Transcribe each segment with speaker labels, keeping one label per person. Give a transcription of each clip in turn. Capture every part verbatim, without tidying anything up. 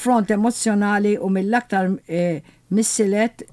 Speaker 1: Konfront emozzjonali u mill-aktar eh, missielet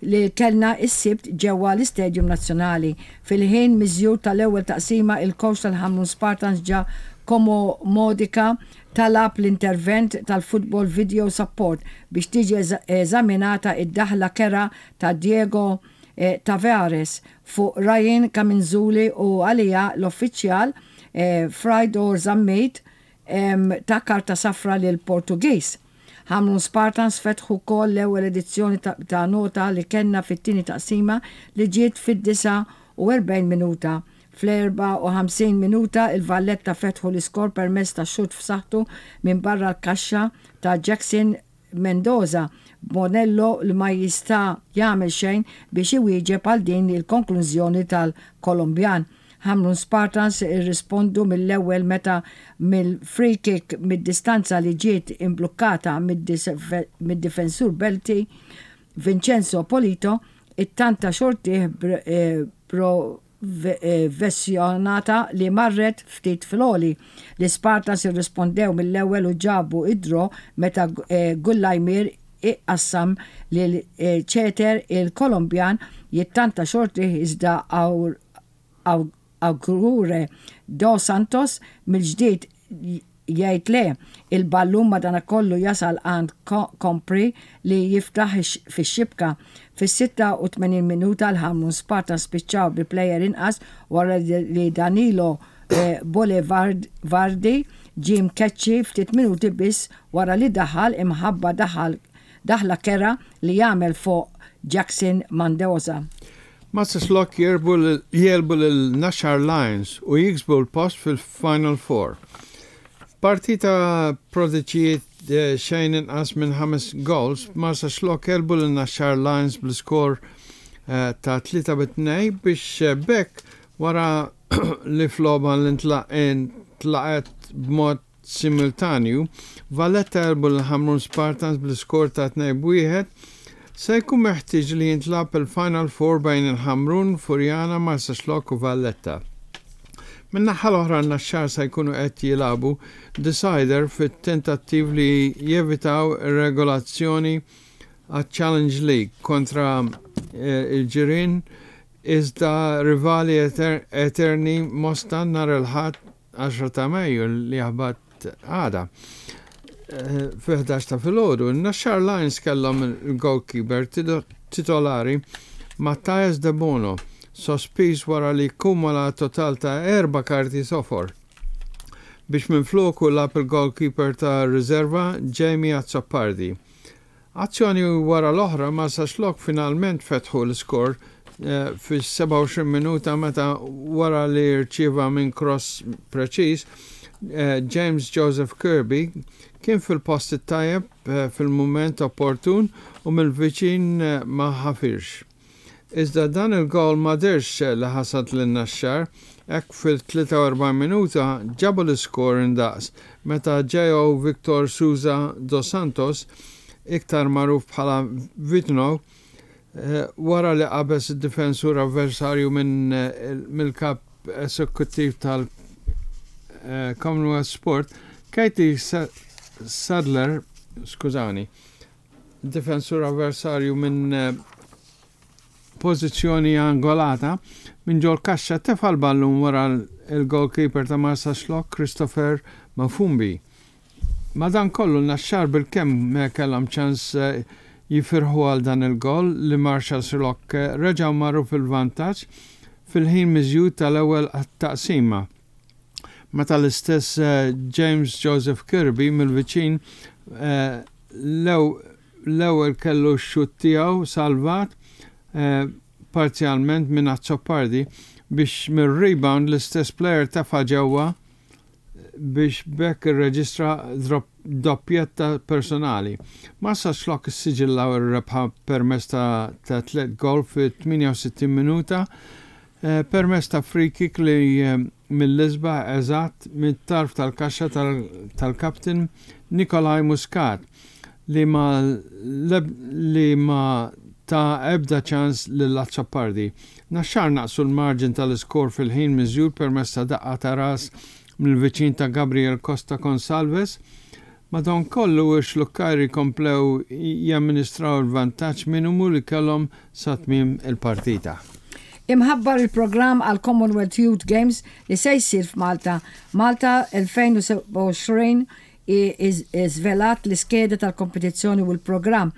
Speaker 1: li kellna is-Sibt ġewwa l-Istadium Nazzjonali. Fil-ħin miżjud tal-ewwel taqsima, il-coach tal-Ħamrun Spartans Giacomo Modica talab l-intervent tal-Football Video Support biex tiġi eżaminata id-daħla kerha ta' Diego eh, Tavares fuq Ryan Kaminzuli u għalija l-uffiċjal eh, Fraidor Zammit ta karta safra lil Portugiż. Ħamrun Spartans fetħu kol l-ewwel edizzjoni ta' nota li kellna fit-tieni taqsima li ġiet fid-disgħa u erbgħin minuta. Fl-erbgħa u ħamsin minuta il-Valletta fetħu l-iskor permezz ta' xut f'saħħtu minn barra l-kaxxa ta' Jackson Mendoza, Bonello li ma jista' jagħmel xejn biex iwieġeb għal din il-konklużjoni tal-Kolombjan. Ħamrun Spartans irrispondu mill-ewwel meta mill-free kick mid-distanza li ġiet imblukkata mid-difensur Belti Vincenzo Polito ittanta xortih eh, provessjonata li marret ftit fl-għoli. L-Spartans irrispondew mill-ewwel u ġabu id-draw meta eh, Gullajmir iqassam lil eh, ċeter il-Kolombjan jittanta xortih, iżda Augure Dos Santos mill-ġdid jgħid le. Il-ballun madanakollu jasal għand Kompri li jiftaħ fix-xibka. Fis-sitta u tmenin minuta l-Ħamrun Sparta spiċċaw bi plejer inqas wara li Danilo eh, Boulevardi ġie mkeċċi ftit minuti biss wara li daħal imħabba daħal daħla kerha li jagħmel fuq Jackson Mendoza.
Speaker 2: Marsaxlokk jegħlbu lil Naxxar Lions u jiksbu l-post fil-Final Four. Partita produċiet eh, xejn inqas minn ħames goals, Marsaxlokk għelbu lil Naxxar Lions bl-skor eh, ta' tlieta bi tnejn biex eh, b'hekk, wara li f'logħba li ntlagħbet b'mod simultanju, Valletta għelbu l-Ħamrun Spartans bl-skor ta' tnejn bi wieħed, se jkun meħtieġ li jintlagħab il-Final Four bejn il-Ħamrun, Furjana, Marsaxlokk u Valletta. Min-naħa l-oħra, Naxxar se jkunu qed jilagħbu decider fit-tentattiv li jevitaw relegazzjoni għal Challenge League kontra eh, il-ġirien iżda rivali eterni Mosta nhar il-Ħadd għaxra ta' Mejju li jaħbat għada eh, fi ħdax ta' filgħodu. Naxxar Lions kellhom il-goalkeeper titolari Matthias De Bono sospiż wara li kumula total ta' erba' karti sofor, biex minn floku lagħab il-goalkeeper ta' riserva Jamie Azzopardi. Azzjoni wara l-oħra, Marsaxlokk finalment fetħu l-skor eh, fis-sebgħa u għoxrin minuta meta, wara li rċieva minn cross preċiż, eh, James Joseph Kirby kien fil-post tajjeb eh, fil-moment opportun u mill-viċin ma ħafirx. Iżda dan il-gol ma dehrx li ħasad lil Naxxar, hekk fil-tlieta u erbgħin minuta ġabu l-iskor indaqs meta J O. Victor Souza dos Santos, iktar magħruf bħala Vitno, eh, wara li qabeż id-difensur avversarju minn eh, mill-kap esekuttiv tal-Commonwealth Sport, Katie Sadler, skużani, difensur avversarju minn eh, pożizzjoni angolata minn ġol kaxxa, tefa l-ballun wara il-goalkeeper ta' Marsaxlokk Christopher Mafumbi. Madankollu Naxxar bil-kemm kellhom ċans eh, jifirħu għal dan il-gol li Marsaxlokk eh, reġgħu marru fil-vantaġġ fil-ħin miżjud tal-ewwel taqsima, meta l-istess eh, James Joseph Kirby mill-viċin l-ewwel kellu x-xut tiegħu salvat parzjalment minn Azzopardi biex mir-rebound l-istess player tefa' ġewwa biex b'hekk irreġistra doppjetta personali. Marsaxlokk issiġillaw ir-rebħa permezz ta' ta' tliet gol fi tmienja u sittin minuta eh, permezz ta' free kick li eh, mill-isbaħ eżatt mit-tarf tal-kaxxa tal-kaptin Nikolaj Muscat li ma li ma ta ebda ċans lil Azzopardi. Naxxar naqsu l-marġin tal-iskor fil-ħin miżjud permezz ta' daqqa ta' ras mill-viċin ta' Gabriel Costa Consalves Madankollu x-Xlukkajri komplew jamministraw il-vantaġġ minimu li kellhom sa tmiem il-partita.
Speaker 1: Imħabbar il-programm għal Commonwealth Youth Games li se jsir f'Malta. Malta elfejn u sebgħa u għoxrin iżvelat l-iskeda tal-kompetizzjoni u l-programm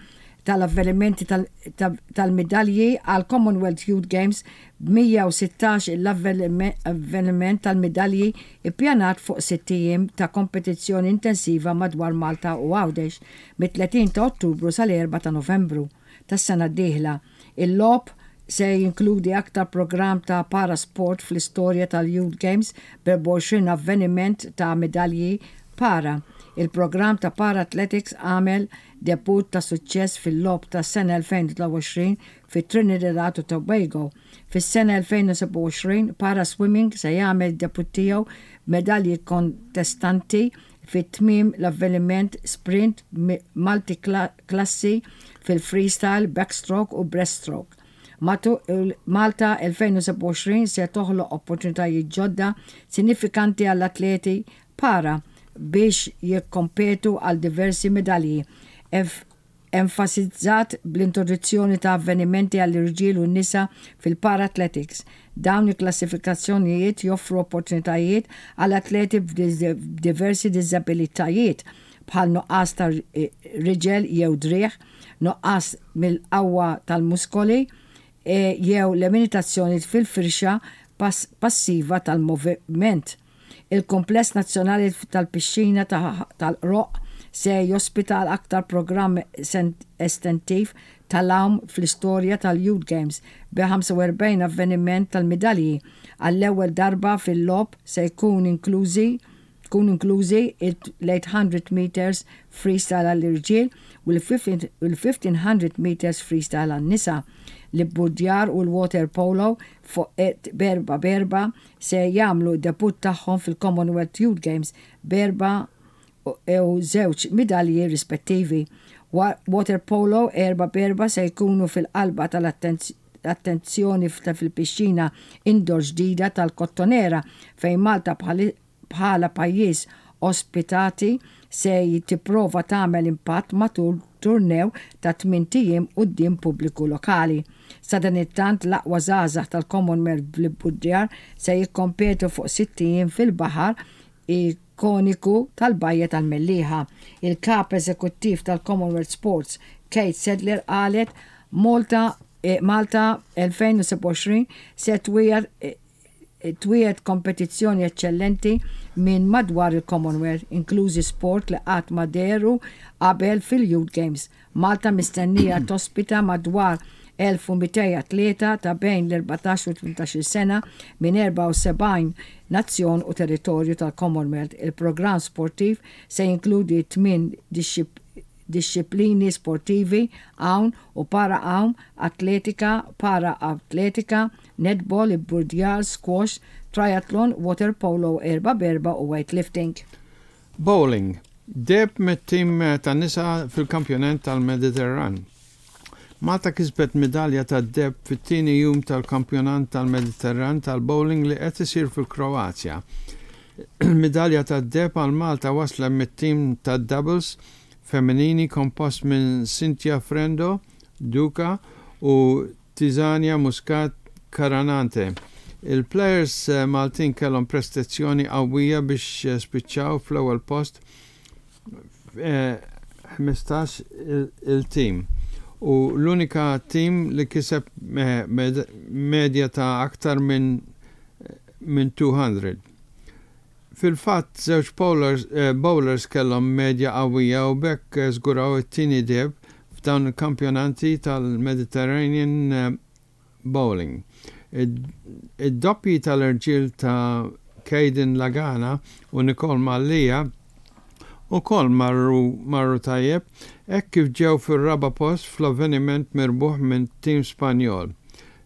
Speaker 1: tal-avvenimenti tal-medalji għal Commonwealth Youth Games, b'mija u sittax l-avveniment tal-medalji ippjanat fuq sitt ijiem ta' kompetizzjoni intensiva madwar Malta u Għawdex mit-tletin ta' Ottubru sal-erbgħa ta' Novembru tas-sena d-dieħla. Il-logħob se jinkludi aktar programm ta' parasport fl-istorja tal-Youth Games, b'erbgħa u għoxrin avveniment ta' medalji para. Il-programm ta' Para Athletics għamel debut ta' suċċess fil-logħob ta' sena elfejn u tlieta u għoxrin fi Trinidad u Tobago. Fis-sena elfejn u sebgħa u għoxrin, Para Swimming se jagħmel debut tiegħu medalji kontestanti fit tmiem l-avveniment sprint multi-klassi fil-freestyle, backstroke u breaststroke. Malta elfejn u sebgħa u għoxrin se toħloq opportunitajiet ġodda sinifikanti għall-atleti para biex jikkompetu għal diversi medalji. Enfasizzat bl-introduzzjoni ta' avvenimenti għall-irġiel u n-nisa fil-para athletics. Dawn il-klassifikazzjonijiet joffru opportunitajiet għal atleti b'diversi diżabilitajiet bħal nuqqas ta' riġel jew driegħ, nuqqas mill-qawwa tal-muskoli e, jew limitazzjoni fil-firxa passiva tal-moviment. Il-Kompless Nazzjonali tal-Pixxina tal-Qroqq se jospita l-aktar programm estentiv tal-għawm fl-istorja tal-Youth Games bi ħamsa u erbgħin avveniment tal-medalji. Għall-ewwel darba fil-logħob se jkun inklużi tkun inklużi l-eight hundred meters freestyle għall-irġiel u l-fifteen hundred meters freestyle għan-nisa. L-ibburdjar u l-water polo fuq b'erbgħa b'erbgħa se jagħmlu debut tagħhom fil-Commonwealth Youth Games b'erbgħa u żewġ medalji rispettivi. Water polo erbgħa b'erbgħa se jkunu fil-qalba tal-attenzjoni fil-pixxina indoor ġdida tal-Kottonera, fejn Malta bħala pajjiż ospitati se tipprova tagħmel impatt matul turnew ta' tmint ijiem quddiem pubbliku lokali. Sadanittant, l-aqwa żgħażagħ tal-Commonwealth bl-ibburdjar se jikkompetu fuq sitt ijiem fil-baħar ikoniku tal-Bajja tal-Mellieħa. Il-kap eżekuttiv tal-Commonwealth Sports, Kate Sadler, qalet: Malta eh, Malta elfejn u sebgħa u għoxrin se twiegħed eh, twiegħed kompetizzjoni eccellenti minn madwar il-Commonwealth, inklużi sport li qatt ma dehru qabel fil-Youth Games. Malta mistennija tospita madwar elf u mitejn atleta ta' bejn l-erbatax u tmintax-il sena minn erbgħa u sebgħin nazzjon u territorju tal-Commonwealth. Il-programm sportiv se jinkludi tmien disċiplini sportivi: għawm u para għawm, atletika, para atletika, netball, ibburdjar, squash, triathlon, water polo erbgħa b'erbgħa u weightlifting.
Speaker 2: Bowling. Deheb mit-tim ta' nisa fil-kampjonat tal-Mediterran. Malta kisbet medalja ta' deheb fit-tieni jum tal-kampjonat tal-Mediterran tal-bowling li qed isir fil-Kroazja. Il-medalja ta' deheb għal Malta wasla mit-tim ta' doubles femminili kompost minn Cynthia Frendo Duca u Tizania Muscat Caranante. Il-players eh, Maltin kellhom prestazzjoni qawwija biex eh, spiċċaw fl-ewwel post ħmistax il-tim u l-unika tim li kiseb medja ta' aktar minn minn mitejn. Fil-fatt, żewġ bowlers, eh, bowlers kellhom medja qawwija u b'hekk żguraw it-tieni deheb f'dawn il-kampjonati tal-Mediterranean eh, Bowling. Id-doppji tal-irġiel ta' Caden Lagana u Nicole Mallia ukoll marru, marru tajjeb hekk kif ġew fir-raba' post fl-avveniment mirbuħ minn tim Spanjol.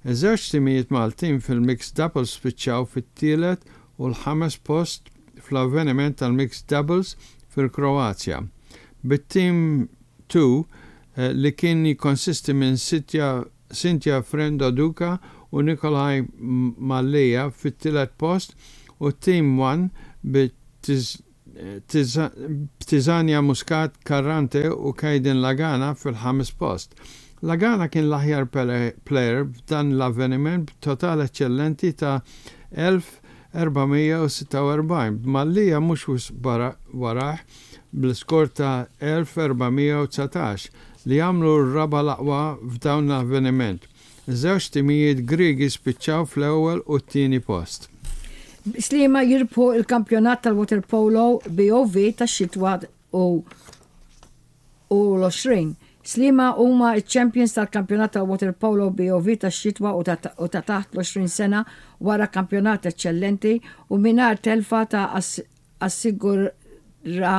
Speaker 2: Iż-żewġ timijiet Maltin fil-mixed doubles spiċċaw fit-tielet u l-ħames post fl-avveniment tal-mixed doubles fil-Kroazja. Bit-team tnejn eh, li kien jikonsisti minn Cynthia Frendo Duca u Nikolaj Mallia fit-tielet post u team wieħed bi Tizania Muscat Carrante u Kajden Lagana fil-ħames post. Lagana kien l-aħjar player f'dan l-avveniment b'total eċċellenti ta' elf erba' mija u sitta u erbgħin, b'Mallia mhux wisq warah bl-iskor ta' elf erba' mija u dsatax li għamlu r-raba' l-aqwa f'dawn l-avveniment. Żewġ timijiet Griegi spiċċaw fl-ewwel u t-tieni post.
Speaker 1: Sliema jirbħu il-kampjonat tal-waterpolo B O V tax-xitwa u u l-għoxrin. Sliema huma il-champions tal-kampjonat tal-waterpolo B O V tax-xitwa u ta' taħt l-għoxrin sena wara kampjonat eccellenti u mingħajr telfa ta' assigura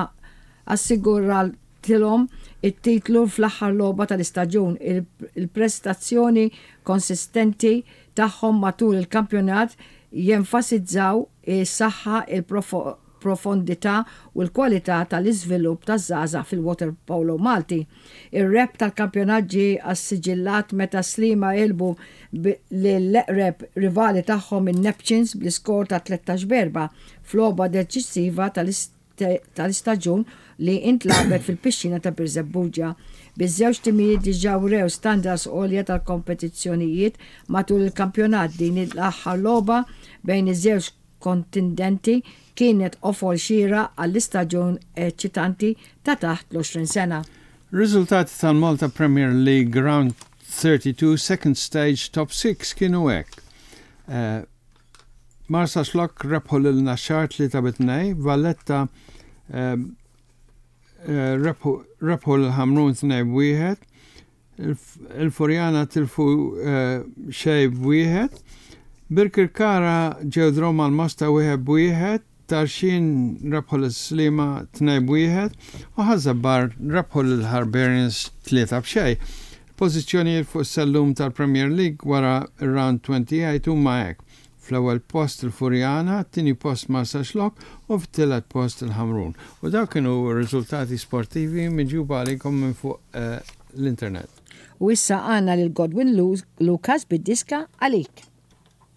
Speaker 1: assiguratilhom it-titlu fl-aħħar logħba tal-istaġun. Il-prestazzjoni konsistenti tagħhom matul il-kampjonat jenfasizzaw is-saħħa, il-profondità u l-kwalità tal-iżvilupp taż-żgħażagħ fil-waterpolo Malti. Ir-rebħ tal-kampjonat ġie assiġillat meta Sliema għelbu l-eqreb rivali tagħhom, in-Neptunes, bl-iskor ta' tlettax b'erbgħa f'logħba deċisiva tal-istaġun li intlagħbet fil-pixxina ta' Birżebbuġa. Biż-żewġ timijiet diġà wrew standards għolja tal-kompetizzjonijiet matul il-kampjonat, din l-aħħar logħba bejn iż-żewġ kontendenti kienet qofol xieraq għall-istaġun eċitanti ta' taħt l-għoxrin sena.
Speaker 2: Riżultati tal-Malta Premier League Round thirty-two Second Stage Top six kienu hekk. Uh, Marsaxlokk rebħu lil Naxxar tlieta bi tnejn, Valletta uh, rebħu lil Ħamrun tnejn b'wieħed, il-Furjana tilfu xejn b'wieħed, Birkirkara ġew draw mal-Mosta wieħed b'wieħed, Tarxien rebħu lil Sliema tnejn b'wieħed u Ħaż-Żabbar rebħu lil Hibernians tlieta b'xejn. Pożizzjonijiet fuq sellum tal-Premier League wara round twenty-eight huma hekk. Fl-ewwel post il-Furjana, tieni post Marsaxlokk u fit-tielet post il-Ħamrun. U dawk kienu riżultati sportivi miġjuba għalikom minn fuq eh, l-internet.
Speaker 1: U issa għandna lil Godwin Lucas bid-diska "Għalik".